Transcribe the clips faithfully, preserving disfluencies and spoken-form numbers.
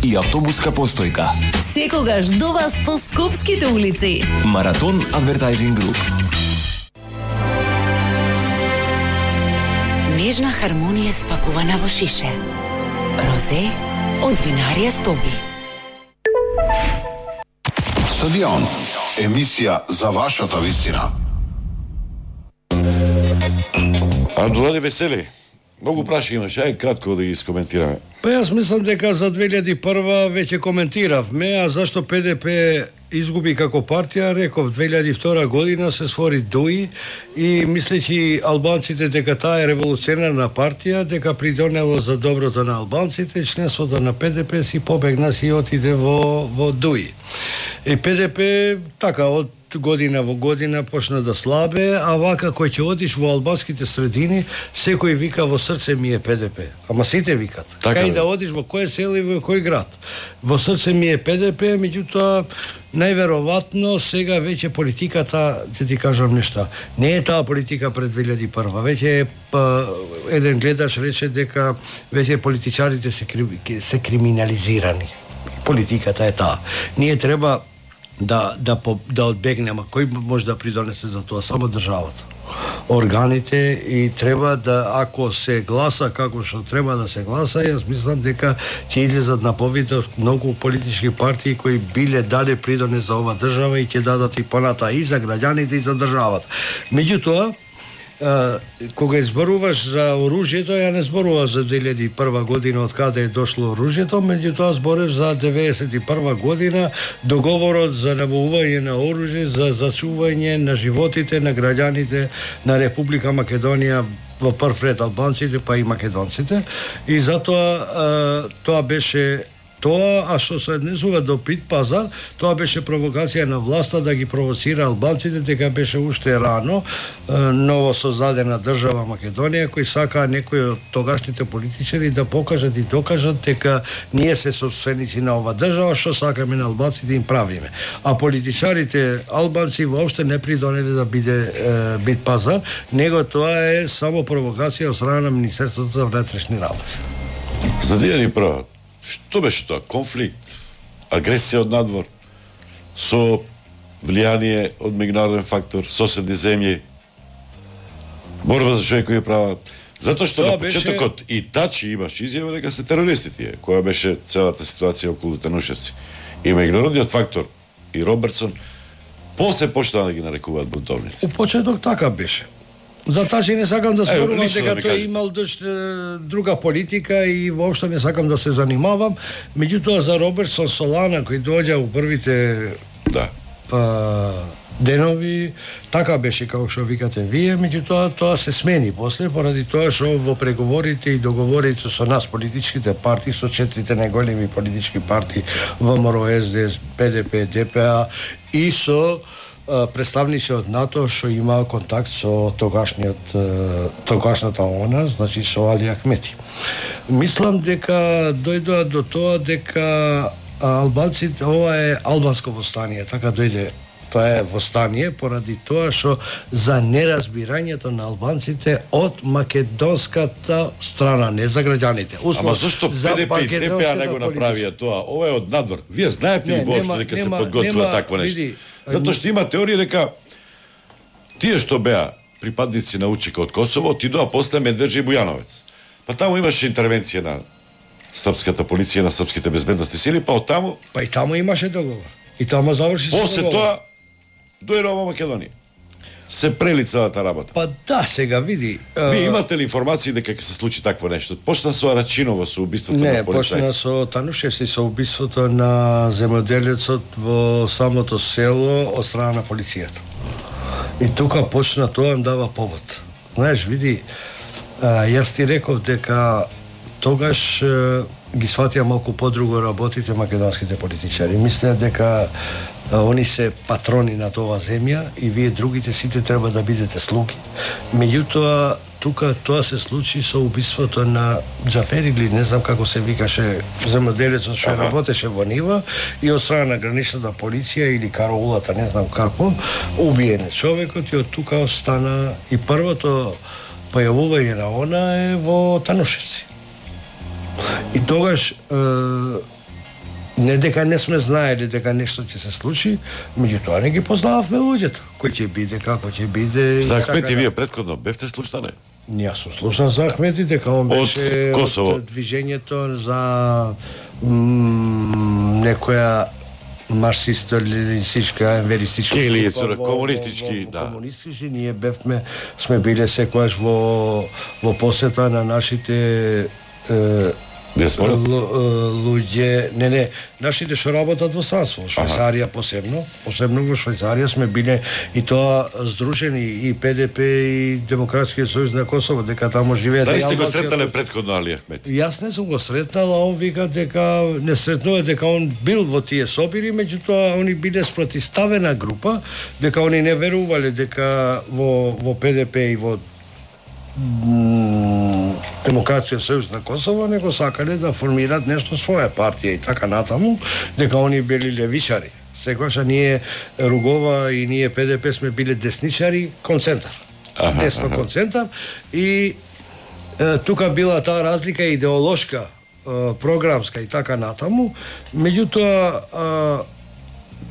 и автобуска постојка. Секогаш до вас по скопските улици. Маратон Адвертайзинг Груп. Нежна хармонија спакувана во шише. Розе од винарија Стоби. Стадион. Емисија за вашата вистина. Андулани Весели, многу прашања имаш, ај кратко да ги искоментираме. Па јас мислам дека за две илјади и прва веќе коментиравме, а зашто П Д П изгуби како партија, реков две илјади и втора година се створи Д У И и мислејќи албанците дека таа е револуционерна партија, дека придонело за доброто на албанците, членството на П Д П си побегна си отиде во во Д У И. И П Д П така од година во година почна да слабе, а вака кој ќе одиш во албанските средини, секој вика во срце ми е П Д П. Ама сите викат. Така Кај е. да одиш во кој село и во кој град. Во срце ми е П Д П, меѓутоа најверојатно сега веќе политиката, ќе ти кажам нешта, не е таа политика пред две илјади и прва. Веќе па, еден гледаш рече дека веќе политичарите се, се криминализирани. Политиката е таа. Ние треба да да да одбегнеме, кој може да придонесе за тоа, само државата, органите, и треба да, ако се гласа како што треба да се гласа, јас мислам дека ќе излезат на повидот многу политички партии кои биле дале придонес за ова држава и ќе дадат и поната и за граѓаните и за државата. Меѓутоа, Uh, кога изборуваш за оружјето, ја не зборував за две илјади и прва година од каде е дошло оружјето, меѓутоа зборев за деветдесет и прва година, договорот за набавување на оружје за зачување на животите на граѓаните на Република Македонија, во прв ред албанците, па и македонците, и затоа uh, тоа беше тоа, а што се однесува до Пит пазар, тоа беше провокација на власта да ги провоцира албанците, дека беше уште рано ново создадена држава Македонија, кои сакаа некои од тогашните политичари да покажат и докажат дека ние се собственици на ова држава, што сакаме на албанците им правиме. А политичарите албанци воопште не придонеле да биде е, Бит пазар, него тоа е само провокација од страна на Министерството за внатрешни работи. За две илјади и прва, што беше тоа? Конфликт, агресија од надвор, со влијание од меѓународен фактор, соседни земји, борба за човекови права. Затоа што Тоа на почетокот беше... и Тачи имаш изјава дека се терористи тие, која беше целата ситуација околу Танушевци. И меѓународниот фактор и Робертсон после почна да ги нарекуваат бунтовници. У почеток така беше. За Тачи не сакам да зборувам дека да тој имал дош, друга политика и воопшто не сакам да се занимавам. Меѓутоа за Робертсон Солана кој доаѓа у првите да. па, денови, така беше како што викате вие, меѓутоа тоа се смени после, поради тоа што во преговорите и договорите со нас политичките партии, со четирите најголеми политички партии Вэ М Р, С Д С, П Д П, Д П А и со представници од НАТО што имаа контакт со тогашниот тогашната ОНА, значи со Али Ахмети. Мислам дека дојдоа до тоа дека албанците, ова е албанско востание, така дојде, тоа е востание поради тоа што за неразбирањето на албанците од македонската страна, не за граѓаните. Ама зашто П Д П и Д П А не го направија тоа? Ова е од надвор. Вие знаете ли воопшто дека се подготвува такво нешто? Затоа што има теорија дека тие што беа припадници на УЧК од Косово отидоа после Медведжа и Бујановец. Па таму имаше интервенција на српската полиција, на српските безбедности сили, па од таму... Па и таму имаше договор. И таму заврши се после тоа дојде ова Македонија. Се прели целата работа. Па да, сега види... Вие имате ли информации дека ќе се случи такво нешто? Почна со Арачиново, со убиството не, на полицајци. Не, почна со Танушевци, со убиството на земјоделецот во самото село од страна на полицијата. И тука почна тоа, им дава повод. Знаеш, види, јас ти реков дека тогаш ги сватија малку подруго работите македонските политичари. Мислеа дека они се патрони на тоа земја и вие другите сите треба да бидете слуги. Меѓутоа, тука тоа се случи со убиството на Џафер или не знам како се викаше земјоделецот што работеше во нива и од страна на граничната полиција или караулата, не знам како, убиен човекот и од тука стана и првото појавување на она е во Танушевци. И тогаш е, Не дека не сме знаели дека нешто ќе се случи, меѓутоа не ги познававме луѓето, кој ќе биде, како ќе биде. За Ахмети вие претходно бевте слушнале? Јас сум слушнал за Ахмети, дека он беше од Косово, од движењето за м, некоја марксисто-ленинистичка, енверистичка или комунистички, да. Комунистички, ние бевме, сме биле секојаш во во посета на нашите е, луѓе, не, не, нашите што работат во странство, во Швајцарија посебно, посебно во Швајцарија сме биле и тоа здружени и ПДП и Демократскиот сојуз на Косово, дека таму живеат. Дали сте го сретнале претходно Али Ахмети? Јас не сум го сретнал, а он вика дека не сретнува, дека он бил во тие собири, меѓутоа они биле спротивставена група, дека они не верувале дека во во ПДП и во Демократскиот сојуз на Косово него сакале да формираат нешто своја партија и така натаму, дека они били левичари. Секогаш ние Ругова и ние ПДП сме биле десничари концентар. Аха, десно аха. Концентар и е, тука била таа разлика идеолошка, е, програмска и така натаму, меѓутоа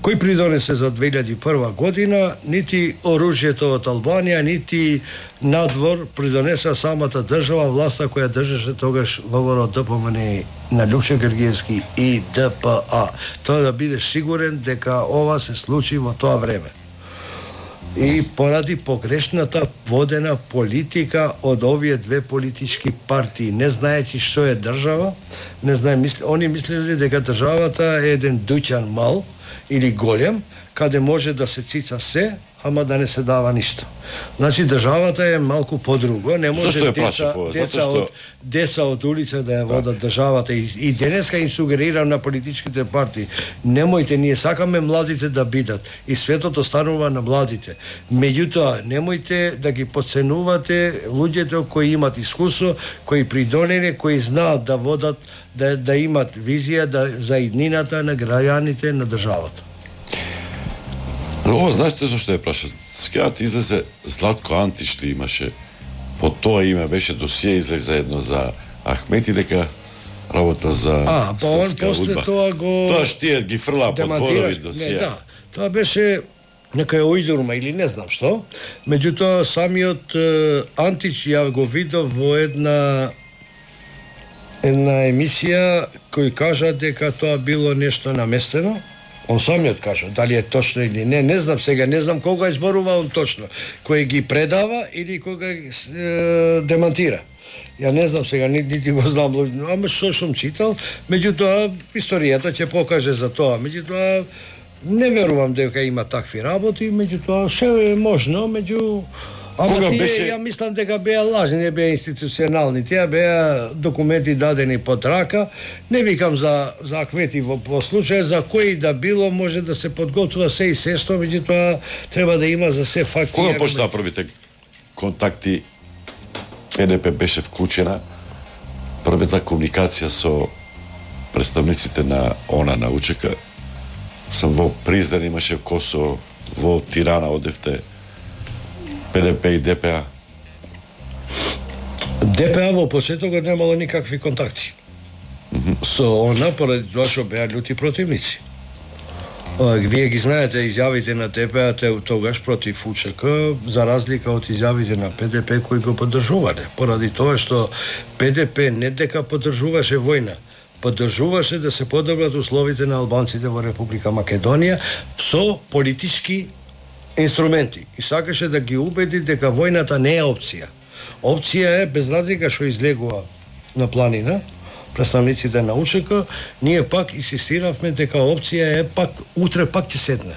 кој придонесе за две илјади и прва година, нити оружјето од Албанија, нити надвор придонеса самата држава, власта која држеше тогаш во ДПМН на Лјупчо Гергиевски и ДПА. Тоа да бидеш сигурен дека ова се случи во тоа време. И поради погрешната водена политика од овие две политички партии, не знаејќи што е држава, не знае, мисли, они мислеле дека државата е еден дуќан мал или голем, каде може да се цица се, ама да не се дава ништо. Значи државата е малку подруго, не може деца, деца, што... од, деца од улица да ја водат да. државата и, и денеска им сугерирам на политичките партии. Немојте, ние сакаме младите да бидат и светот останува на младите. Меѓутоа, немојте да ги подценувате луѓето кои имат искуство, кои придонеле, кои знаат да водат, да, да имат визија да, за иднината на граѓаните на државата. Ова, знаете зашто е прашат? Скејат излезе Златко Антич што имаше, по тоа име беше досие излезе заедно за Ахмети, дека работа за а, па он после тоа го... Тоа што тие ги фрла по дворови досие. Не, да, тоа беше некаја ујдурма или не знам што. Меѓутоа, самиот е, Антич ја го видов во една една емисија кој кажа дека тоа било нешто наместено. Он самиот кажа, дали е точно или не, не знам сега, не знам кога изборува он точно, кој ги предава или кога е, демантира. Ја не знам сега, нити го знам, ама што сум читал, меѓутоа историјата ќе покаже за тоа, меѓутоа не верувам дека има такви работи, меѓутоа се е можно, меѓу ама кога тие, беше... ја мислам дека беа лажни, не беа институционални, тие беа документи дадени под рака. Не викам за за Ахмети во по случај, за кој да било може да се подготвува се и сесто, меѓутоа треба да има за се факти. Кога почнаа првите контакти? ПДП беше вклучена, првата комуникација со представниците на ОНА на УЧК. Сам во Призрен имаше Косово, во Тирана одевте. ПДП и ДПА? ДПА во почетокот немало никакви контакти. Mm-hmm. Со она, поради тоа што беа љути противници. Вие ги знаете изјавите на ДПА тогаш против УЧК, за разлика од изјавите на ПДП кои го поддржувале. Поради тоа што ПДП не дека поддржуваше војна, поддржуваше да се подобрат условите на албанците во Република Македонија со политички инструменти и сакаше да ги убеди дека војната не е опција. Опција е, без разлика што излегува на планина, представниците на УЧК, ние пак инсистиравме дека опција е пак утре пак ќе седне.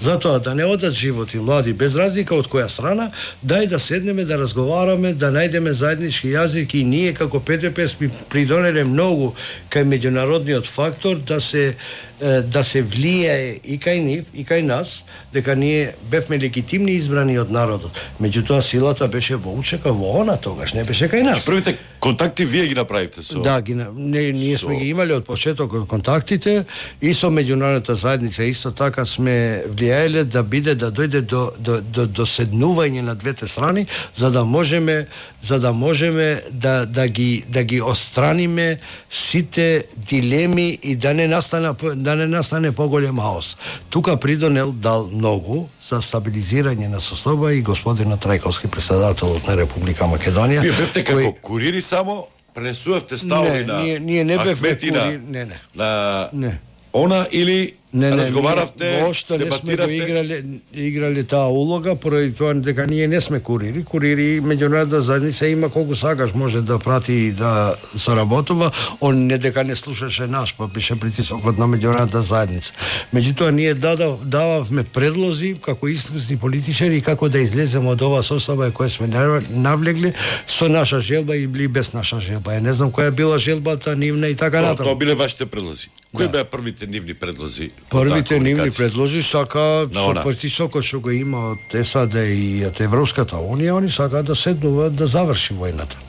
Затоа да не одат животи млади, без разлика од која страна, дај да седнеме да разговараме, да најдеме заеднички јазик и ние како ПДП сме придонеле многу кај меѓународниот фактор да се да се влијае и кај нив и кај нас, дека ние бевме легитимни избрани од народот. Меѓутоа силата беше во УЧК, во ОНА тогаш, не беше кај нас. Првите Контакти вие ги направивте со... Да, ги, не, ние сме со... ги имали од почетокот контактите и со меѓународната заедница исто така сме влијаеле да биде да дојде до до до доседнување на двете страни за да можеме за да можеме да да ги да ги отстраниме сите дилеми и да не настане да не настане поголем хаос. Тука придонел дал многу за стабилизирање на состојба и господина Трајковски, председателот на Република Македонија. Вие бевте како кој... курири само пренесувавте ставови на ние, ние не бевме курири, не, не. на не. Она или Не, не, разговаравте, воопшто не сме го играле, играле таа улога, поради тоа дека ние не сме курири. Курири меѓународна заедница има колку сакаш може да прати и да соработува, он не дека не слушаше наш, па беше притисокот на меѓународната заедница. Меѓутоа ние дадав, дававме предлози како искусни политичари како да излеземе од оваа состојба која сме навлегли со наша желба или без наша желба. Ја не знам која била желбата нивна и така натаму. Тоа биле вашите предлози. Кои да. беа првите нивни предлози? Првите нивни предлози сака со притисокот што го има од САД и од Европската унија, они сакаат да седнуваат да заврши војната.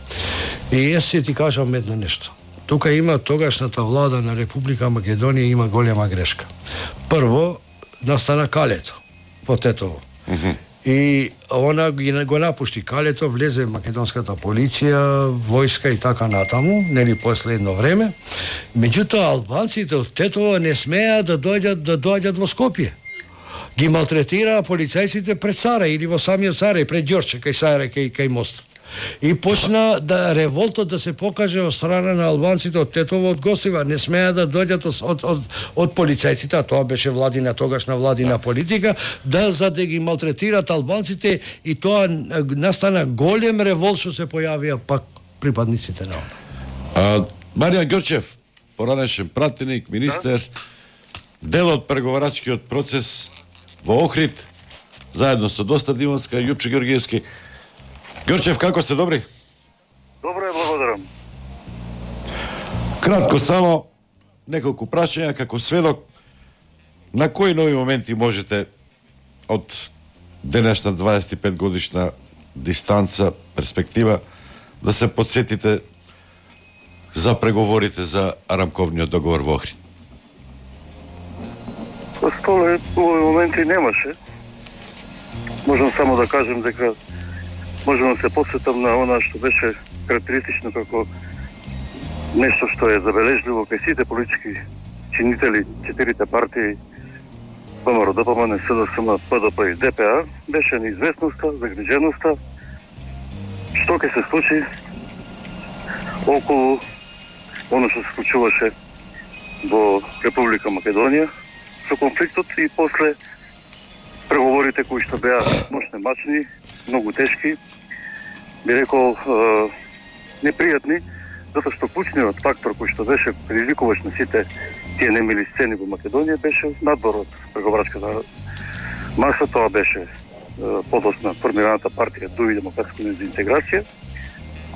И јас ќе ти кажам едно нешто. Тука има тогашната влада на Република Македонија има голема грешка. Прво настана калето по Тетово. Mm -hmm. И она го напушти калето, влезе македонската полиција, војска и така натаму, нели после едно време. Меѓутоа албанците од Тетово не смеа да дојдат да доаѓат во Скопје. Ги малтретираа полицајците пред Сара или во самиот Сара и пред Ѓорче кај Сара кај кај мостот. И почна да револтот да се покаже од страна на албанците од Тетово, од гостива, не смеа да дојдат од од од полицајците, а тоа беше владина тогашна владина политика, да за да ги малтретираат албанците и тоа настана голем револт што се појавија пак припадниците на а, Маријан Ѓорчев, поранешен пратеник, министер, дел од преговарачкиот процес во Охрид, заедно со Доста Димовска и Јупче Ѓоргиевски. Ѓорчев, како сте, добри? Добро е, благодарам. Кратко само, неколку прашања како сведок, на кои нови моменти можете од денешна дваесет и пет годишна дистанца, перспектива, да се подсетите за преговорите за рамковниот договор во Охрид? По столе, овој моменти немаше. Можам само да кажем дека можам да се посетам на она што беше карактеристично како нешто што е забележливо кај сите политички чинители, четирите партии ВМРО, ДПМН, СДСМ, ПДП и ДПА, беше неизвестноста, загриженоста, што ќе се случи околу оно што се случуваше во Република Македонија со конфликтот и после преговорите кои што беа мощни, многу тешки, би рекол е, непријатни, затоа што клучниот фактор кој што беше предизвикуваш на сите тие немили сцени во Македонија беше надвор од преговарачката маса, тоа беше е, подосна формираната партија Дуи демократска интеграција,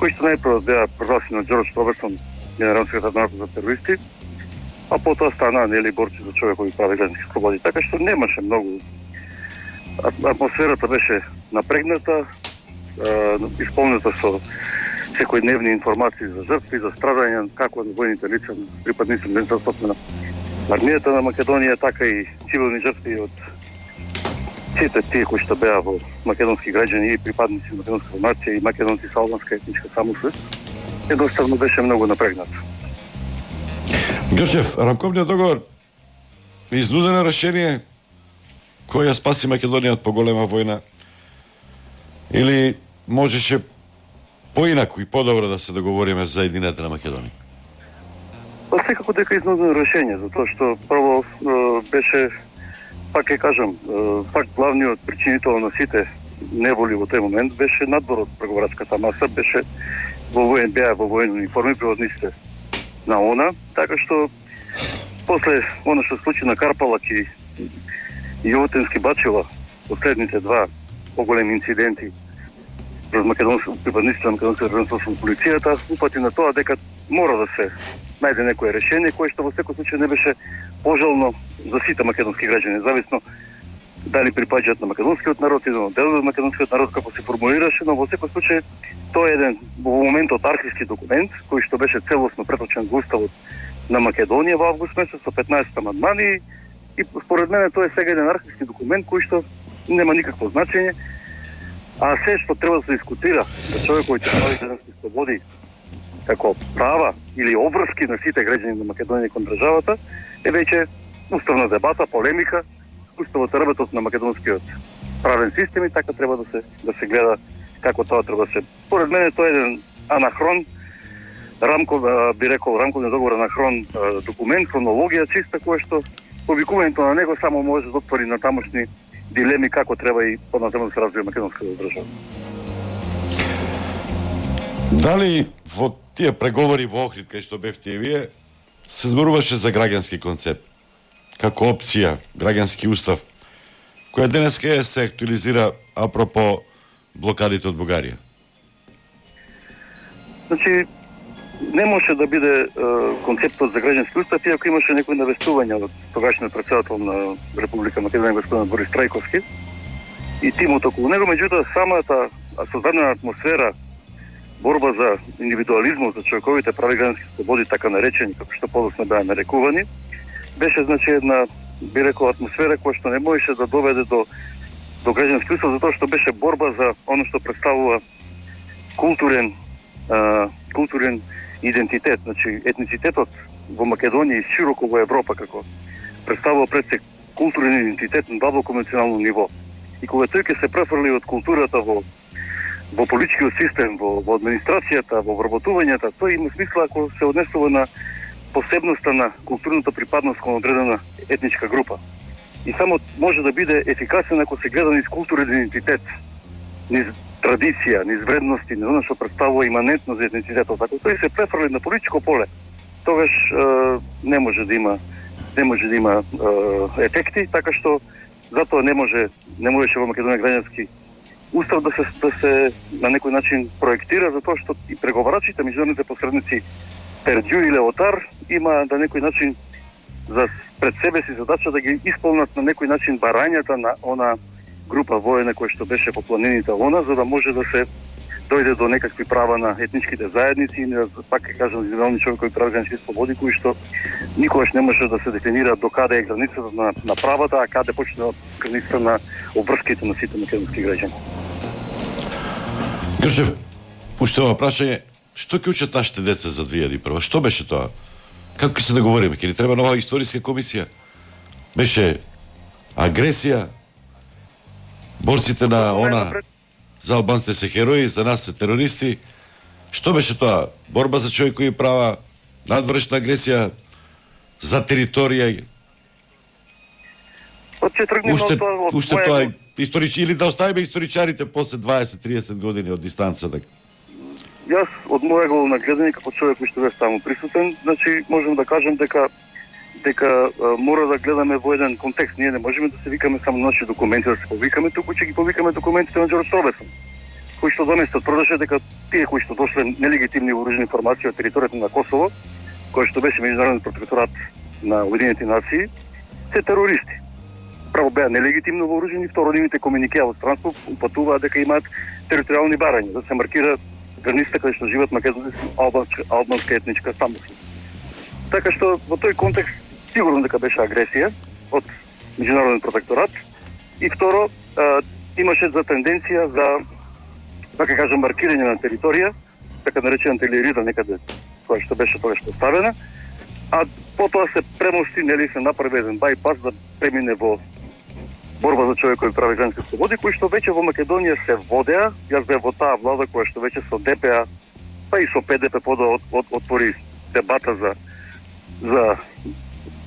кои што најпрво беа прогласени од Џорџ Робертсон, генерален секретар за терористи, а потоа стана нели борци за човекови права и граждански слободи. Така што немаше многу. Атмосферата беше напрегната, исполнета со секојдневни информации за жртви, за страдања, како на војните лица, припадници на на армијата на Македонија, така и цивилни жртви од сите тие кои што беа во македонски граѓани и припадници на македонска нација и македонци со албанска етничка самосвест. Едноставно беше многу напрегнат. Ѓорчев, рамковниот договор изнудено решение кој ја спаси Македонија од поголема војна или можеше поинаку и подобро да се договориме за едината на Македонија? Па секако дека изнудено решение, затоа што прво беше, пак ќе кажам, пак главниот причинител на сите неволи во тој момент беше надвор од преговарачката маса, беше во воен беа во воени униформи приводниците на она, така што после она што случи на Карпалак и Јовотински Бачева, последните два поголеми инциденти пред македонски припадниците на македонската граница со полицијата, упати на тоа дека мора да се најде некое решение кое што во секој случај не беше пожелно за сите македонски граѓани, зависно дали припаѓаат на македонскиот народ или на дел од македонскиот народ, како се формулираше, но во секој случај тоа е еден во моментот архивски документ кој што беше целосно преточен во уставот на Македонија во август месец со петнаесет амандмани и според мене тоа е сега еден архивски документ кој што нема никакво значење, а се што треба да се дискутира за човековите прави граѓански слободи како права или обврски на сите граѓани на Македонија кон државата е веќе уставна дебата, полемика, уставот работот на македонскиот правен систем и така треба да се да се гледа како тоа треба да се. Според мене тоа е еден анахрон, рамков, би рекол, рамковен договор анахрон документ, хронологија чиста, која што повикувањето на него само може да отвори на тамошни дилеми како треба и понатаму да се развива македонската држава. Дали во тие преговори во Охрид кај што бевте вие се зборуваше за граѓански концепт како опција, граѓански устав, која денеска се актуализира апропо блокадите од Бугарија? Значи, не може да биде е, концептот за граѓански устав, иако имаше некои навестувања од тогашниот претседател на Република Македонија господин Борис Трајковски и тимот околу него, меѓутоа самата создадена атмосфера, борба за индивидуализмот, за човековите прави граѓански слободи, така наречени, како што подоцна беа нарекувани, беше значи една, би рекол, атмосфера која што не можеше да доведе до до граѓански устав, затоа што беше борба за оно што представува културен а, културен идентитет, значи етницитетот во Македонија и широко во Европа како представува пред се културен идентитет на длабоко национално ниво. И кога тој ќе се префрли од културата во во политичкиот систем, во, во администрацијата, во вработувањата, тој има смисла ако се однесува на посебноста на културната припадност кон одредена етничка група. И само може да биде ефикасен ако се гледа низ културен идентитет, низ традиција, низ вредности, низ оно што представува иманентно за етницитетот. Ако тој се префрли на политичко поле, тогаш е, не може да има не може да има е, ефекти, така што затоа не може не можеше во Македонија граѓански устав да се да се на некој начин проектира, затоа што и преговарачите, меѓународните посредници Пердју и Леотар има на некој начин за пред себе си задача да ги исполнат на некој начин барањата на она група воена која што беше по планините она, за да може да се дојде до некакви права на етничките заедници и на, пак ќе кажам, индивидуални човекови прави граѓански слободи, кои што никогаш не може да се дефинира до каде е границата на, на правата, а каде почне границата на обврските на сите македонски граѓани. Грчев, уште ова прашање, што ќе учат нашите деца за две илјади и прва? Што беше тоа? Како ќе се договориме? Ќе ни треба нова историска комисија? Беше агресија? Борците на она за албанците се херои, за нас се терористи? Што беше тоа? Борба за човекови права, надвршна агресија, за територија? Уште, уште тоа историчи, или да оставиме историчарите после дваесет до триесет години од дистанца? Так? Јас од мојего нагледање како човек кој што бе само присутен, значи можам да кажам дека дека а, мора да гледаме во еден контекст. Ние не можеме да се викаме само наши документи да се повикаме, туку ќе ги повикаме документите на Џорџ Робесон, кои што доместот продолжува дека тие кои што дошле нелегитимни вооружени формации од територијата на Косово, кој што беше меѓународен протекторат на Обединетите нации, се терористи. Право беа нелегитимно вооружени, второ нивните комуникеа од странство упатуваат дека имаат територијални барања, да се маркира границата каде што живеат македонци албанска, албанска етничка самост. Така што во тој контекст сигурно дека беше агресија од меѓународен протекторат и второ а, имаше за тенденција за, така кажам, маркирање на територија, така наречената Илирида некаде, која што беше тогаш поставена, а потоа се премости, нели се направи еден байпас да премине во борба за човекови прави граѓански слободи, кои што веќе во Македонија се водеа. Јас бев во таа влада која што веќе со Д П А, па и со П Д П подоа от, от, отвори дебата за за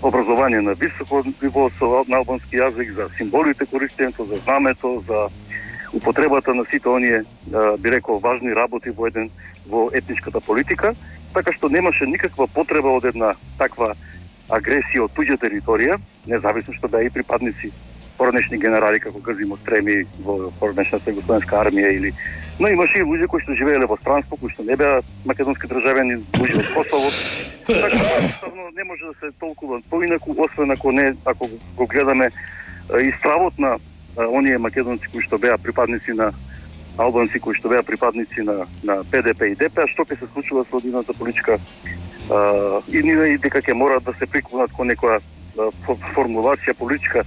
образование на високо ниво со на албански јазик, за символите користењето, за знамето, за употребата на сите оние, би рекол, важни работи во еден во етничката политика, така што немаше никаква потреба од една таква агресија од туѓа територија, независно што беа и припадници поранешни генерали како Газимо Стреми во поранешната југословенска армија или, но имаше и луѓе кои што живееле во странство, кои што не беа македонски државјани, луѓе од Косово. Така што не може да се толкува поинаку, освен ако не ако го гледаме и стравот на оние македонци кои што беа припадници на албанци кои што беа припадници на на П Д П и Д П, што ќе се случува со одината политичка а, и ние дека ќе мораат да се приклонат кон некоја формулација политичка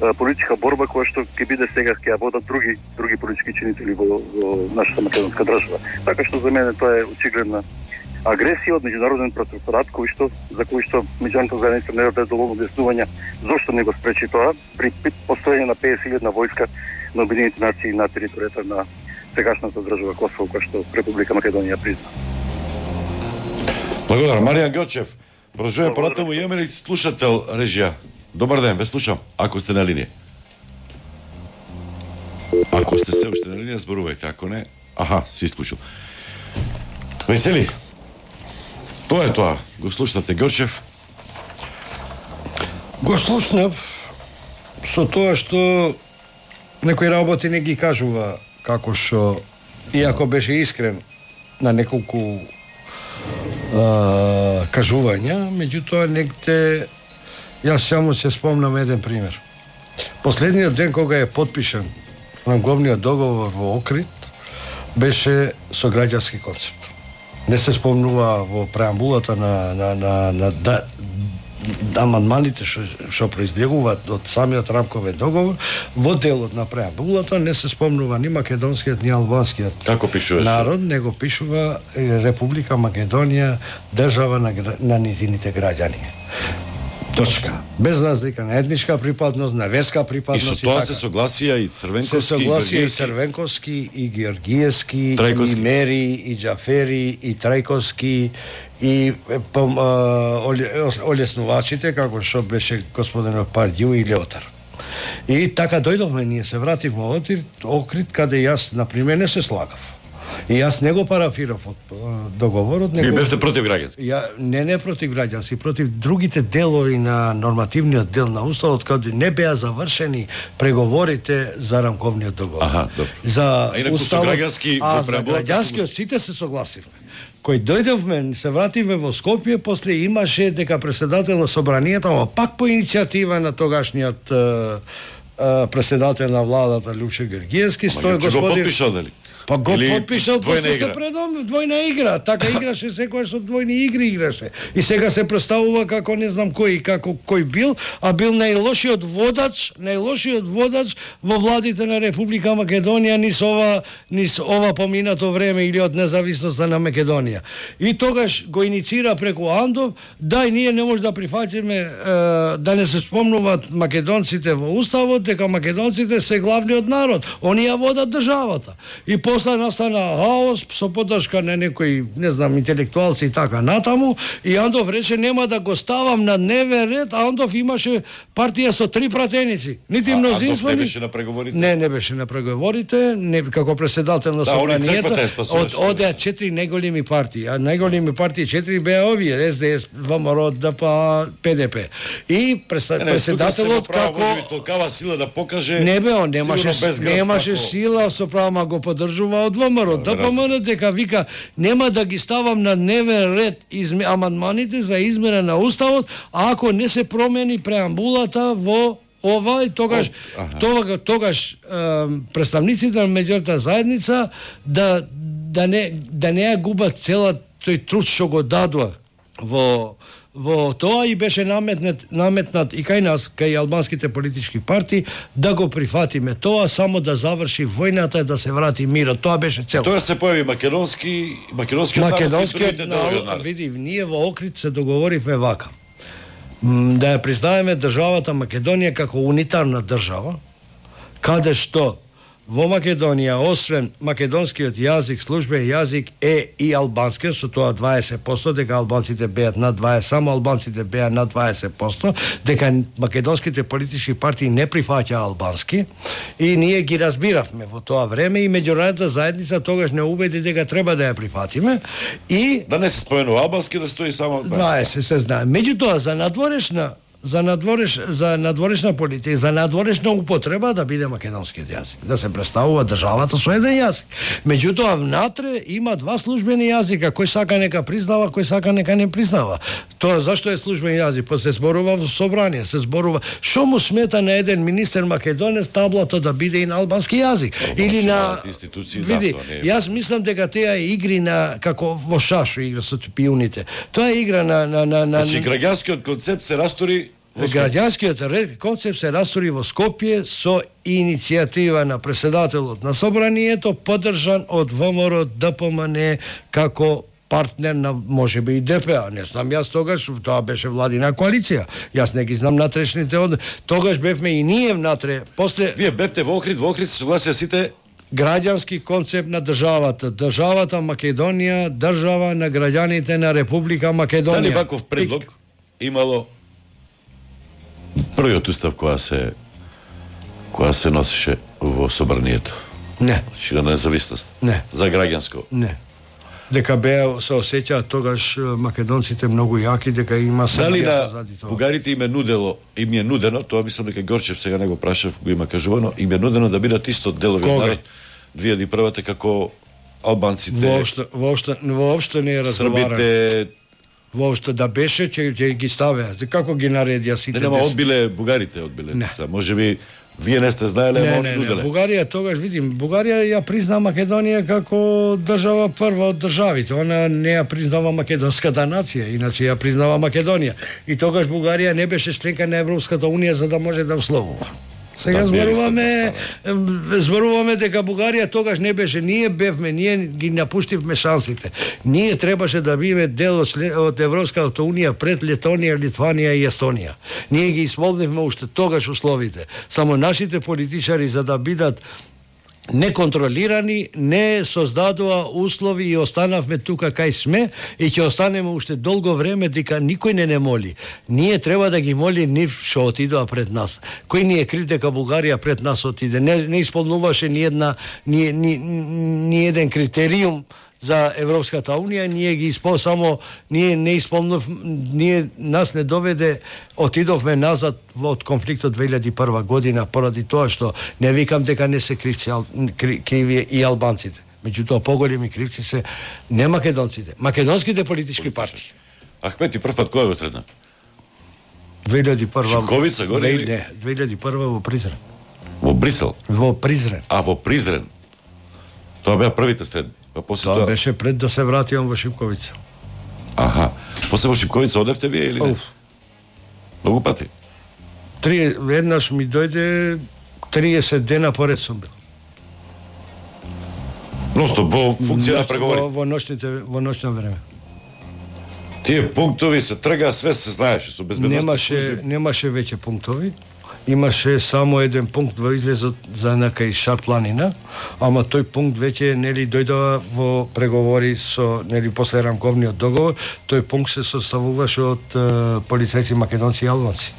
а, политичка борба која што ќе биде сега ќе ја водат други други политички чинители во, во нашата македонска држава. Така што за мене тоа е очигледна агресија од меѓународен протекторат кој што за кој што меѓународната заедница не даде доволно објаснување зошто не го спречи тоа при постоење на песет илјади војска на Обединените нации на територијата на сегашната држава Косово, која што Република Македонија призна. Благодарам. Маријан Ѓочев, продолжуваме понатаму. Имаме ли слушател, режија? Добар ден, ве слушам, ако сте на линија. Ако сте се уште на линија, зборувајте, ако не, аха, си исклучил. Весели, тоа е тоа. Го слушнате Ѓочев? Го слушнав со тоа што некои работи не ги кажува како што, иако беше искрен на неколку а, кажувања, меѓутоа негде јас само се спомнам еден пример. Последниот ден кога е подпишан рамковниот договор во Охрид беше со граѓански концепт. Не се спомнува во преамбулата на на на, на да, амандманите што што произлегуваат од самиот рамковен договор, во делот на преамбулата не се спомнува ни македонскиот ни албанскиот Како пишуваше? народ, него пишува Република Македонија, држава на, на низините граѓани. Точка. Без разлика на етничка припадност, на верска И припадност со тоа така. се согласија и Црвенковски, Се согласија и Георгиевски. Црвенковски, и Георгиевски, Трајковски. и Мери, и Џафери, и Трајковски, и пом, а, олеснувачите, како што беше господинот Пардју и Леотар. И така дојдовме, ние се вративме во Охрид, каде јас, например, не се слагав. И јас не го парафирав од договорот, Ви него... бевте против граѓански? Ја, не, не против граѓански, против другите делови на нормативниот дел на Уставот, каде не беа завршени преговорите за рамковниот договор. Аха, добро. За А инаку со граѓански а во за преамбулата граѓанскиот сите се согласивме. Кој дојдовме, се вративме во Скопје, после имаше дека председател на собранието, ама пак по иницијатива на тогашниот е, е, председател на владата Лјупче Георгиевски, Ма стој Лјупче го господин... подпишал, дали? Па го Или подпишал, двојна после се игра? предом двојна игра, така играше секој со двојни игри играше. И сега се представува како не знам кој како кој бил, а бил најлошиот водач, најлошиот водач во владите на Република Македонија низ ова низ ова поминато време или од независноста на Македонија. И тогаш го иницира преку Андов, дај ние не може да прифатиме е, да не се спомнуваат македонците во уставот дека македонците се главниот народ, они ја водат државата. И после настана хаос со поддршка на некои, не знам, интелектуалци и така натаму, и Андов рече нема да го ставам на дневен ред, а Андов имаше партија со три пратеници. Нити А, мнозинство, Андов не ни- беше на преговорите? Не, не беше на преговорите, не како председател на Да, они црквата ја собранието. спасуваше. Од одеа четири најголеми партии, а најголеми партии четири беа овие: С Д С, ВМРО, Д П, П Д П. И преса- Не, не, председателот како толкава сила да покаже. не бе, он немаше сигурно без град, немаше како- сила, со права го поддржува од ВМРО. Д П М Н дека вика нема да ги ставам на дневен ред изме, амандманите за измена на уставот ако не се промени преамбулата во ова и тогаш Аха. тогаш, тогаш е, представниците на меѓународната заедница да да не да не ја губат целат тој труд што го дадува во во тоа, и беше наметнат наметнат и кај нас, кај албанските политички партии, да го прифатиме тоа, само да заврши војната и да се врати мирот. Тоа беше цел. Тоа се појави македонски, македонскиот народ и Македонскиот другите делови од народ, народ. види, ние во Охрид се договоривме вака. М, Да ја признаеме државата Македонија како унитарна држава, каде што во Македонија, освен македонскиот јазик, службен јазик е и албанскиот, со тоа дваесет проценти, дека албанците беат над дваесет, само албанците беа над дваесет проценти, дека македонските политички партии не прифаќа албански, и ние ги разбиравме во тоа време, и меѓународната заедница тогаш не убеди дека треба да ја прифатиме, и Да не се споменува албански, да стои само дваесет се знае. Меѓутоа, за надворешна за надвореш за надворешна политика, за надворешна употреба да биде македонскиот јазик, да се представува државата со еден јазик. Меѓутоа внатре има два службени јазика, кој сака нека признава, кој сака нека не признава. Тоа зашто е службен јазик? Па се зборува во собрание, се зборува. Што му смета на еден министер македонец таблото да биде и на албански јазик? Или на види, јас мислам дека теа е игри на како во шашо игра со пиуните. Тоа е игра на на на на Значи граѓанскиот концепт се растори во Граѓанскиот концепт се растори во Скопје со иницијатива на претседателот на собранието, поддржан од ВМРО ДПМН како партнер на можеби и ДПА. Не знам јас тогаш, тоа беше владина коалиција. Јас не ги знам натрешните од тогаш бевме и ние внатре. После вие бевте во Охрид, во Охрид се согласија сите граѓански концепт на државата. Државата Македонија, држава на граѓаните на Република Македонија. Дали ваков предлог имало првиот устав која се која се носеше во собранието? Не. Значи на независност? Не. За граѓанско? Не. Дека беа се осеќаат тогаш македонците многу јаки, дека има дали на бугарите им е нудело, им е нудено, тоа мислам дека Горчев сега не го прашав, го има кажувано, им е нудено да бидат исто делови од две илјади и прва како албанците. Воопшто воопшто воопшто не е разговарано. Србите воопшто да беше че ќе ги ставеа. Како ги наредија сите? Не, нема одбиле бугарите, одбиле. Можеби вие не сте знаеле, ама они нуделе. Бугарија тогаш, видим, Бугарија ја призна Македонија како држава прва од државите. Она не ја признава македонската нација, иначе ја признава Македонија. И тогаш Бугарија не беше членка на Европската унија за да може да условува. Сега зборуваме, зборуваме дека Бугарија тогаш не беше, ние бевме, ние ги напуштивме шансите. Ние требаше да биме дел од, од Европската унија пред Летонија, Литванија и Естонија. Ние ги исполнивме уште тогаш условите. Само нашите политичари за да бидат неконтролирани, не создадува услови и останавме тука кај сме и ќе останеме уште долго време дека никој не не моли. Ние треба да ги моли нив што отидоа пред нас. Кој ни е крив дека Бугарија пред нас отиде? Не, не исполнуваше ни една ни, ни, ни еден критериум за Европската унија, ние ги испол само ние не исполнив, ние нас не доведе, отидовме назад од конфликтот две илјади и прва година поради тоа што не викам дека не се кривци криви и албанците. Меѓутоа поголеми кривци се не македонците, македонските политички партии. Ахмети прв пат кој го средна? две илјади и прва Шипковица горе или? Не, две илјади и прва во Призрен. Во Брисел? Во Призрен. А во Призрен. Тоа беа првите средни. Па после тоа, тоа беше пред да се вратиам во Шипковица. Аха. После во Шипковица одевте вие или не? Оф. Многу пати. Три еднаш ми дојде триесет дена поред сум бил. Просто во функција на преговори. Во, во ночните во ноќно време. Тие пунктови се трга, све се знаеше со безбедност. Немаше немаше веќе пунктови. Имаше само еден пункт во излезот за некај Шар планина, ама тој пункт веќе нели дојдова во преговори со нели после рамковниот договор, тој пункт се составуваше од е, полицајци македонци и албанци.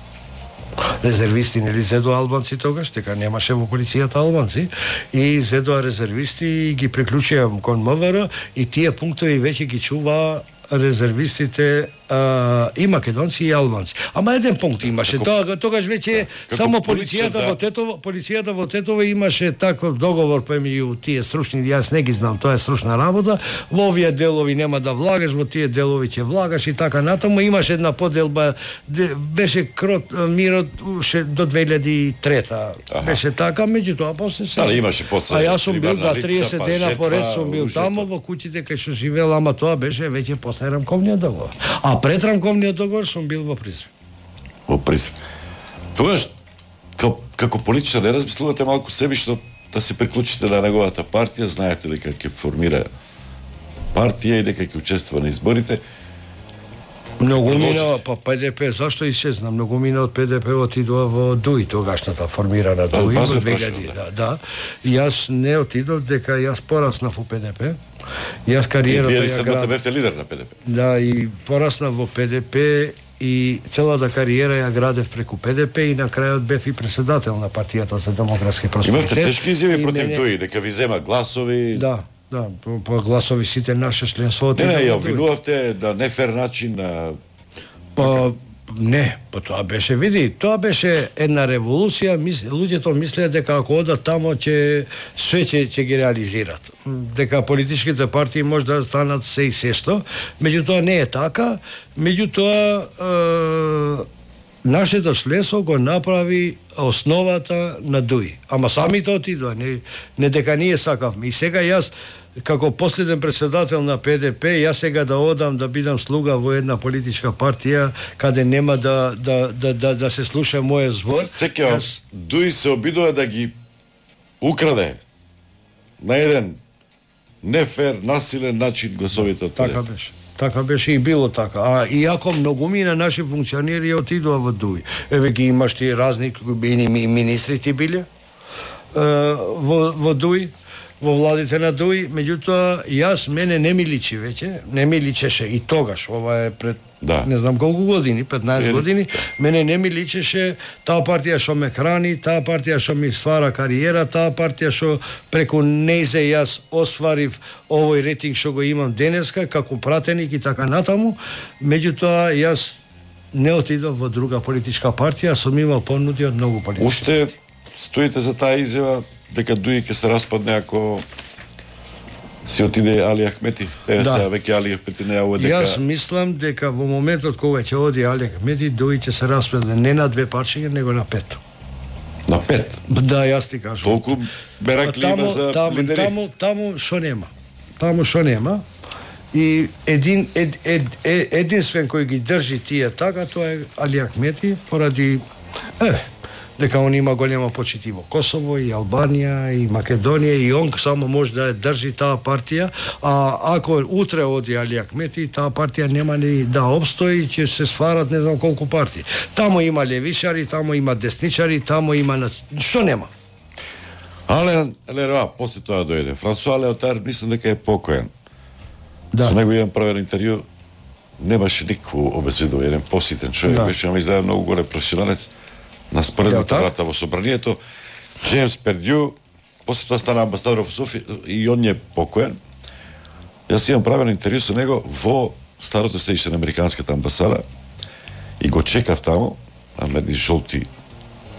Резервисти нели зедоа албанци тогаш, дека немаше во полицијата албанци и зедоа резервисти и ги приклучија кон МВР и тие пунктови веќе ги чува резервистите а, и македонци и албанци. Ама еден пункт имаше. Тоа тогаш веќе само полицијата во Тетово, полицијата во Тетово имаше таков договор помеѓу тие стручни, јас не ги знам, тоа е стручна работа. Во овие делови нема да влагаш, во тие делови ќе влагаш и така натаму. Имаше една поделба, беше крот мирот ше до две илјади и трета. Аха. Беше така, меѓутоа после се. Дали имаше после. А јас сум бил да триесет дена поред сум бил таму во куќите кај што живеел, ама тоа беше веќе после рамковниот договор. А пред рамковниот договор сум бил во Призрен. Во Призрен. Тогаш како, како политичар не размислувате малку себично да се приклучите на неговата партија, знаете ли како ќе формира партија и дека ќе учествува на изборите? Многу мина, па ПДП, зашто исчезна? Многу мина од ПДП отидува во ДУИ, тогашната формирана ДУИ во две илјади. Да, да. Јас не отидов дека јас пораснав во ПДП. Јас кариерата ја ја град... бевте лидер на ПДП. Да, и пораснав во ПДП и целата кариера ја градев преку ПДП и на крајот бев и председател на партијата за демократски просперитет. Имавте тешки изјави против ДУИ, дека ви зема гласови. Да. Да, по, по гласови сите наше членство. Не, не, ја обвинувавте на нефер начин, на... Па, Не, па тоа беше, види, тоа беше една револуција, мис, луѓето мислеа дека ако одат тамо ќе све ќе ќе ги реализират. Дека политичките партии може да станат се и сесто, меѓутоа не е така, меѓутоа е, нашето членство го направи основата на ДУИ. Ама самите отидоа, не, не дека ние сакавме. И сега јас како последен председател на П Д П, јас сега да одам да бидам слуга во една политичка партија каде нема да да да да, да се слуша мојот збор. Секој јас... ДУИ се обидува да ги украде на еден нефер, насилен начин гласовите од П Д П. Така беше. Така беше и било така. А иако многумина наши функционери отидоа во ДУИ. Еве ги имаш ти разни министри ти биле во во ДУИ, во владите на ДУИ, меѓутоа јас мене не ми личи веќе, не ми личеше и тогаш, ова е пред да. не знам колку години, петнаесет години, мене не ми личеше таа партија што ме храни, таа партија што ми ствара кариера, таа партија што преку нејзе јас остварив овој рейтинг што го имам денеска како пратеник и така натаму, меѓутоа јас не отидов во друга политичка партија, сум имал понуди од многу политички. Уште стоите за таа изјава дека ДУИ ќе се распадне ако си отиде Али Ахмети? Е, да. Сега веќе Али Ахмети не ја дека... Јас мислам дека во моментот кога ќе оди Али Ахмети, ДУИ ќе се распадне не на две парчиња, него на пет. На пет? Да, јас ти кажам. Толку беракли има за таму, лидери? Таму, таму шо нема. Таму шо нема. И един, ед, ед, ед, единствен кој ги држи тие така, тоа е Али Ахмети, поради... Е, дека он има голема почит и во Косово, и Албанија, и Македонија, и он само може да држи таа партија, а ако утре оди Али Ахмети, таа партија нема ни да обстои, ќе се сварат не знам колку партии. Тамо има левишари, тамо има десничари, тамо има... Што нема? Ален Лероа, после тоа дојде. Франсуа Леотар, мислам дека е покоен. Да. Со него имам правен интервју, немаше никакво обезбедување, еден поситен човек, да. Беше, ама изгледа многу голем професионалец. На споредната врата во собранието, Джеймс Пердју, после тоа стана амбасадор во Софија и он е покоен. Јас имам правен интервју со него во старото седиште на американската амбасада и го чекав таму, на медни жолти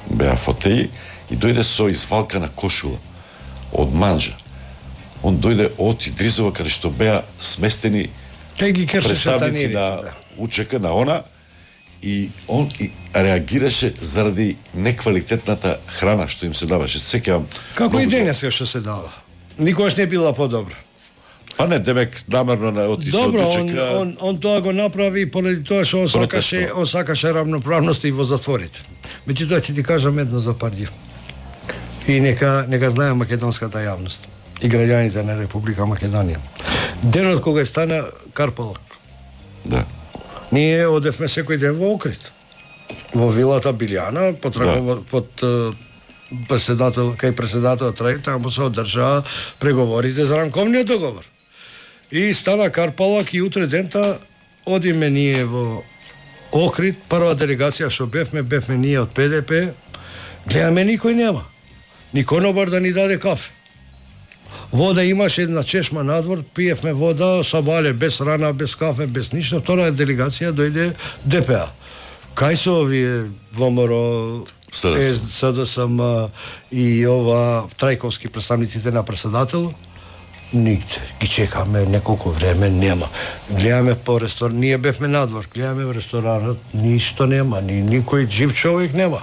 беа фотеи и дојде со извалкана кошула од манжа. Он дојде од Идризова каде што беа сместени представници на УЧК на она и он и реагираше заради неквалитетната храна што им се даваше. Секјам како и денес што се дава. Никогаш не била подобра. Па не, демек намерно на оти се Добро, од УЧК. он, он, он тоа го направи поради тоа што он сакаше, он сакаше равноправност и во затворите. Меѓутоа ќе ти кажам едно за Пердју. И нека нека знае македонската јавност и граѓаните на Република Македонија. Денот кога стана Карпалак. Да. Ние одевме секој ден во Охрид. Во вилата Билјана, под, да. под председател, кај председател Трај, таму се одржаа преговорите за рамковниот договор. И стана Карпалак и утре дента одиме ние во Охрид, прва делегација што бевме, бевме ние од П Д П, гледаме никој нема. Ни конобар да ни даде кафе. Вода имаше една чешма надвор, пиевме вода, сабале, без рана, без кафе, без ништо. Втора делегација дојде Д П А. Кај се овие ВМРО, С Д С М и ова Трајковски представниците на председател? Нигде. Ги чекаме неколку време, нема. Гледаме по ресторан, ние бевме надвор, гледаме во ресторанот, ништо нема, ни никој жив човек нема.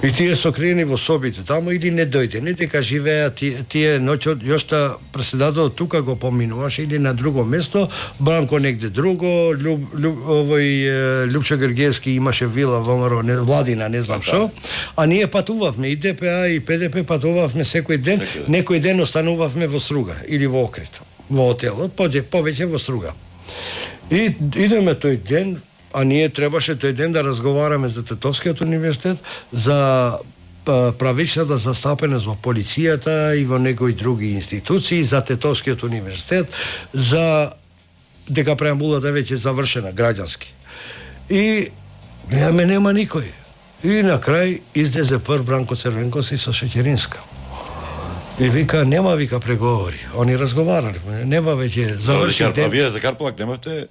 И тие сокриени во собите таму или не дојде, не дека живеа тие, тие ноќот, јошта председателот тука го поминуваше или на друго место, Бранко негде друго, Люб, Люб, овој Лјупчо Гергиевски имаше вила во ВМРО, не, Владина, не знам што, а ние патувавме и Д П А и П Д П патувавме секој ден, секој ден. Некој ден останувавме во Струга или во Охрид, во отелот, повеќе во Струга. И идеме тој ден, а ние требаше тој ден да разговараме за Тетовскиот универзитет, за правичната застапеност во полицијата и во некои други институции, за Тетовскиот универзитет, за дека преамбулата веќе завршена граѓански. И гледаме нема никој. И на крај излезе прв Бранко Црвенковски со Шеќеринска. И вика, нема вика преговори. Они разговарале, нема веќе заврши ден. А вие за Карпалак немавте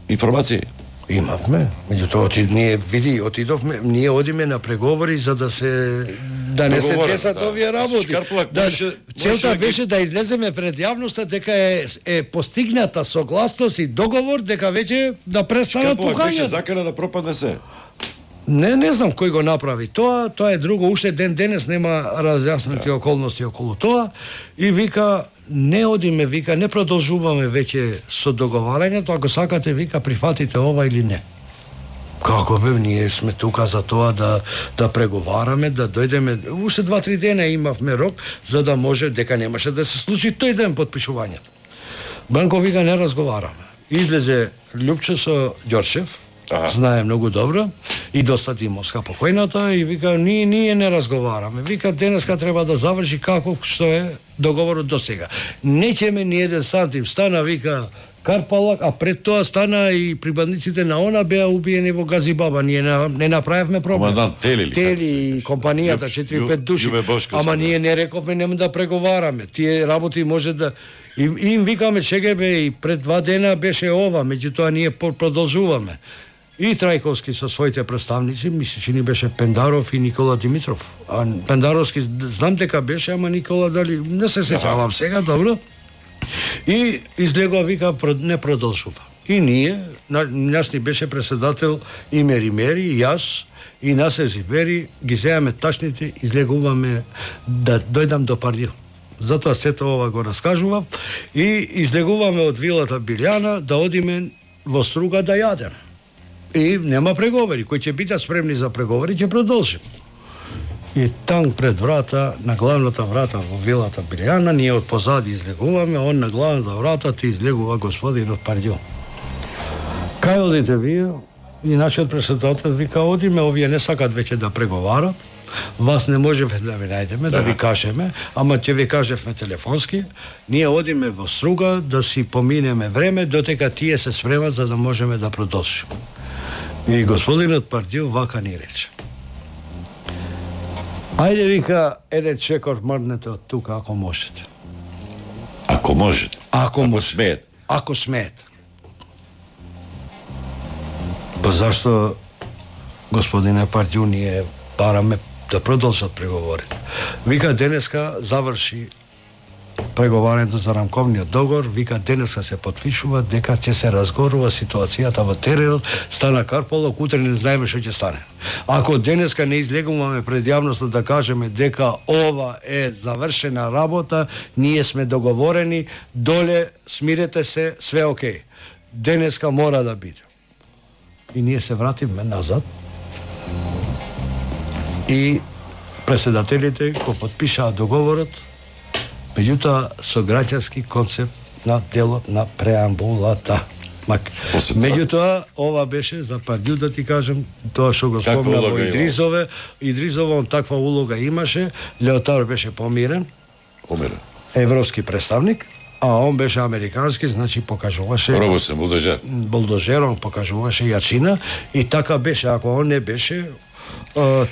информации? Имавме, меѓутоа оти, ние види, отидовме, ние одиме на преговори за да се да не се десат да. овие работи. Да, целта беше да излеземе пред јавноста дека е, е постигната согласност и договор дека веќе да престанат покањата. Шкарпулак беше закана да пропадне се. Не, не знам кој го направи тоа, тоа е друго, уште ден денес нема разјаснати да. околности околу тоа и вика не одиме, вика не продолжуваме веќе со договарањето, ако сакате вика прифатите ова или не. Како бе, ние сме тука за тоа да да преговараме, да дојдеме, уште два-три дена имавме рок за да може дека немаше да се случи тој ден подпишувањето. Банко вика не разговараме. Излезе Лјупче со Ѓорчев. Ага. Знае многу добро и доста Димовска покојната и вика ние ние не разговараме. Вика денеска треба да заврши како што е договорот до сега. Неќеме ни еден сантим, стана вика Карпалак, а пред тоа стана и прибандниците на она беа убиени во Газибаба. Ние не, не направивме проблем. Командант Тели, Тели и компанијата четири-пет души. Ама ние не рековме нема да преговараме. Тие работи може да и им викаме чекајме и пред два дена беше ова, меѓутоа ние продолжуваме. И Трајковски со своите представници, мисли че ни беше Пендаров и Никола Димитров. А Пендаровски знам дека беше, ама Никола дали не се сеќавам сега, добро. И излегува вика не продолжува. И ние, нас ни беше председател Имери Мери, јас и Насе Зибери, ги земаме тачните, излегуваме да дојдам до Пардио. Затоа сето ова го раскажувам и излегуваме од вилата Билјана да одиме во Струга да јадеме. И нема преговори, кои ќе бидат спремни за преговори, ќе продолжим. И там пред врата, на главната врата во вилата Билјана, ние од позади излегуваме, он на главната врата ти излегува господинот Пардио. Кај одите вие? И нашиот председател вика, одиме, овие не сакат веќе да преговарат, вас не можеме да ви најдеме, да, да ви кажеме, ама ќе ви кажевме телефонски, ние одиме во Струга да си поминеме време, дотека тие се спремат за да можеме да продолжиме. И господинот Пардио вака ни рече. Ајде, вика, еден чекор мрднете од тука, ако можете. Ако можете? Ако, ако може. смеете? Ако смеете. Па зашто, господине Пардио, ние бараме да продолжат преговорите. Вика, денеска заврши преговарањето за рамковниот договор, вика денеска се потпишува дека ќе се разгорува ситуацијата во теренот, стана Карпалок, утре не знаеме што ќе стане. Ако денеска не излегуваме пред јавноста да кажеме дека ова е завршена работа, ние сме договорени, доле смирете се, све окей. Денеска мора да биде. И ние се вратиме назад и председателите го потпишаа договорот, меѓутоа со граѓански концепт на делот на преамбулата. Мак. Меѓутоа, ова беше за Пардио, да ти кажем, тоа што го спомна во Идризове, Идризово он таква улога имаше, Леотар беше помирен, помирен, европски представник, а он беше американски, значи покажуваше Робосен, булдожер. Булдожер, он покажуваше јачина и така беше, ако он не беше,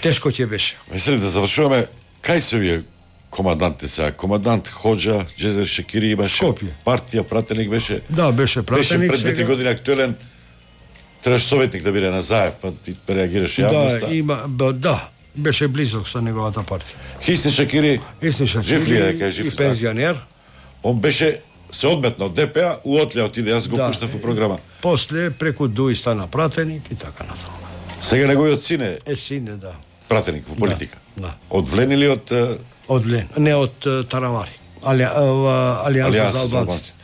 тешко ќе беше. Мислите да завршуваме, кај се вие команданте сега? Командант Ходжа, Джезер Шекири имаше, Скопје. Партија, пратеник беше. Да, беше пратеник. Беше пред две години актуелен, требаше советник да биде на Заев, па ти реагираше јавноста. Да, има, да, беше близок со неговата партија. Хисни Шекири, Хисни Шекири, жив ли е, дека е жив? И пензионер. Он беше се одметна од ДПА, уотлја отиде, јас го да, пуштав во програма. После преку Дуи стана пратеник и така натаму. Сега неговиот сине е сине, да. Пратеник во политика. Да, да. Од Влен или од од Влен, не од Таравари. Али Алијанса за албанци.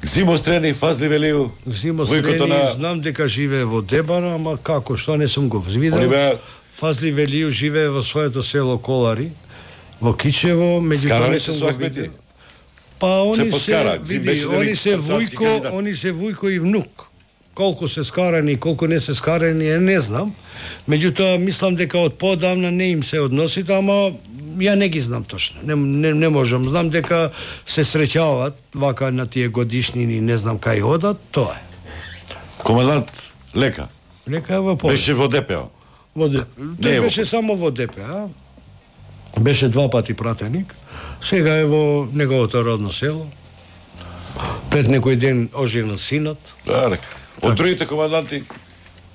Гзимо Стрени, Фазли Велију. Гзимо Стрени, на... знам дека живее во Дебара, ама како, што не сум го видел. Беа... Фазли Велију живее во своето село Колари, во Кичево, меѓу Скарани се со Ахмети. Па они се, се види, они се Вујко, они се Вујко и внук. Колку се скарани, колку не се скарани, не знам. Меѓутоа, мислам дека од подамна не им се односите, ама ја не ги знам точно. Не, не, не можам. Знам дека се среќаваат вака на тие годишнини, не знам кај одат, тоа е. Командант Лека. Лека е во Поле. Беше во ДПА. Во ДПА. Тој беше во... само во ДПА. Беше два пати пратеник. Сега е во неговото родно село. Пред некој ден оженил синот. Да, река. Од другите команданти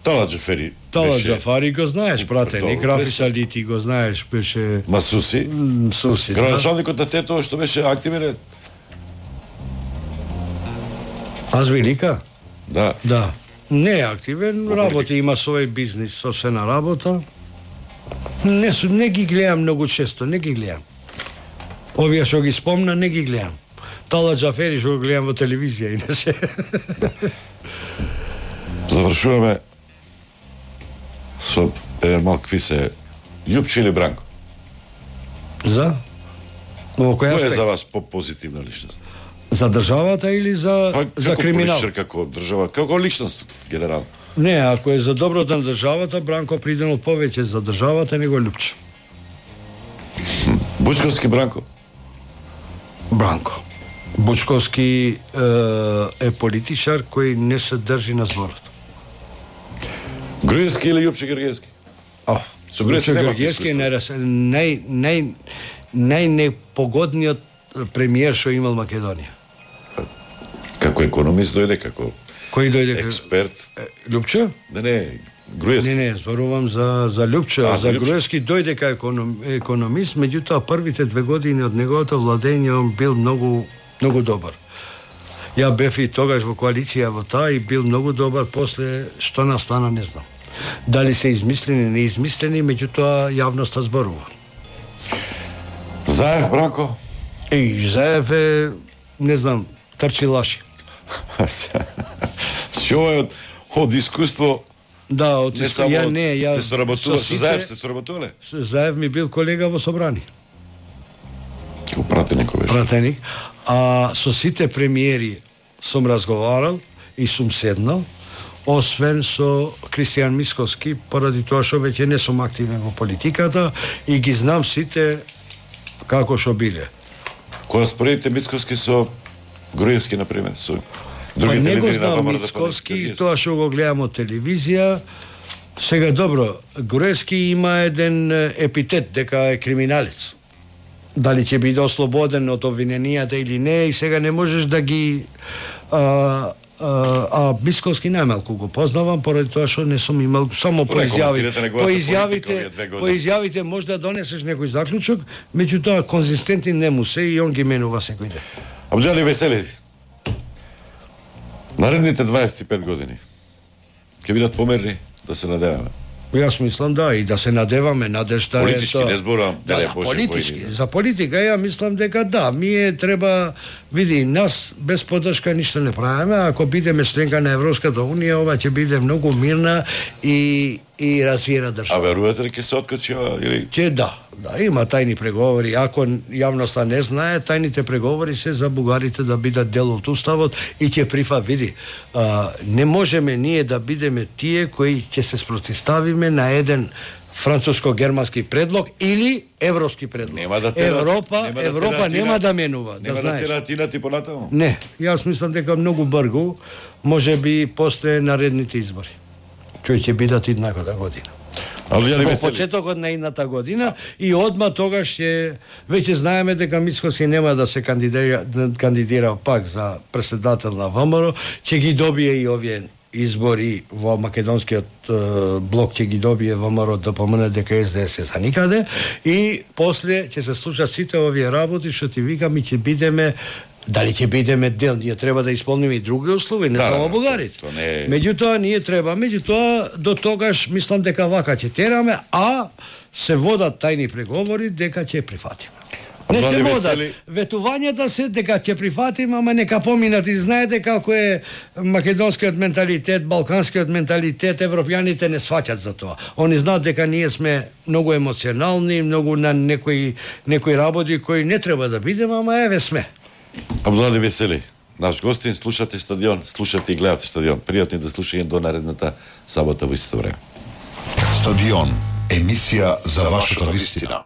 Тала Џафери. Тала Џафари го знаеш, пратеник, Рафи Салити го знаеш, беше Масуси. Суси. Градоначалникот на Тетово што беше активен. Аз велика? Да. Да. Не е активен, работи, има свој бизнис, собствена работа. Не, не ги гледам многу често, не ги гледам. Овие што ги спомна, не ги гледам. Тала Џафери што го гледам во телевизија, иначе. Завршуваме со еден мал квиз е Љупче или Бранко? За? Во кој Кој е аспект? за вас по-позитивна личност? За државата или за, Па, за криминал? Како како држава, како личност, генерално? Не, ако е за доброто на државата, Бранко придено повеќе за државата него Љупче. Бучковски Бранко? Бранко. Бучковски е, е политичар кој не се држи на зборот. Груевски или Љупче Гергевски? О, Со Груевски нема Гергевски е нај нај најнепогодниот премиер што имал Македонија. Како економист дојде, како Кој дојде експерт? Љупче? Не, не, Груевски. Не, не, зборувам за за Љупче, А, за за Љупче. Груевски дојде кај економ, економист, меѓутоа првите две години од неговото владење он бил многу многу добар. Ја бев и тогаш во коалиција во таа и бил многу добар, после што настана не знам. Дали се измислени, не измислени, меѓутоа јавноста зборува. Заев Бранко? Еј, Заев е, не знам, трчи лаши. Што е од, од искуство? Да, од Не иску- само ја од- не, ја сте соработували, со со сите- Заев сте соработувале? Заев ми бил колега во собрани. Како пратеник беше. Пратеник, а со сите премиери сум разговарал и сум седнал, освен со Кристијан Мисковски, поради тоа што веќе не сум активен во политиката и ги знам сите како што биле. Кога споредите Мисковски со Груевски, например, со Па другите не го лидери на знам ВМРО Мисковски, да тоа што го гледам од телевизија. Сега добро, Груевски има еден е, епитет дека е криминалец. Дали ќе биде ослободен од обвиненијата или не, и сега не можеш да ги а, а, а Мисковски најмалку го познавам, поради тоа што не сум имал само по Не изјави. коментирате неговата По политика изјавите, овие две години. по изјавите може да донесеш некој заклучок, меѓутоа конзистентен не му се и он ги менува секој ден. Абдјали Весели, наредните дваесет и пет години ќе бидат померни, да се надеваме. Јас мислам да, и да се надеваме, надежта е Политички тоа. не зборувам, Да, не, да, Боже, политички. војни, да. За политика ја мислам дека да, ние треба, види, нас без поддршка ништо не правиме, ако бидеме членка на Европската унија, ова ќе биде многу мирна и и развиена А држава. верувате ли ќе се откачи ова или Че да, да, има тајни преговори. Ако јавноста не знае, тајните преговори се за бугарите да бидат дел од уставот и ќе прифа, види, а, не можеме ние да бидеме тие кои ќе се спротивставиме на еден француско-германски предлог или европски предлог. Нема да терат- Европа, нема да Европа терат нема Ина- да менува, да нема да знаеш. терат инати понатаму? Не, јас мислам дека многу бргу, може би после наредните избори, кои ќе бидат идната година. Абдјали Во Весели, почетокот на идната година и одма тогаш ќе веќе знаеме дека Мицкоски нема да се кандидира, да кандидира пак за претседател на ВМРО, ќе ги добие и овие избори во македонскиот е, блок, ќе ги добие ВМРО да помине дека Ес Де Ес е за никаде и после ќе се случат сите овие работи што ти викам и ќе бидеме. Дали ќе бидеме дел, ние треба да исполниме и други услови, не Да, само да, бугарите. тоа не е- Меѓутоа ние треба, меѓутоа до тогаш мислам дека вака ќе тераме, а се водат тајни преговори дека ќе прифатиме. Не Абдјали се водат. Весели- Ветувањата се дека ќе прифатиме, ама нека поминат и знаете како е македонскиот менталитет, балканскиот менталитет, европјаните не сваќат за тоа. Они знаат дека ние сме многу емоционални, многу на некои некои работи кои не треба да бидеме, ама еве сме. Абдјали Весели, наш гостин, слушате Стадион, слушате и гледате Стадион. Пријатни да слушање до наредната сабота во исто време. Стадион, емисија за вашата вистина.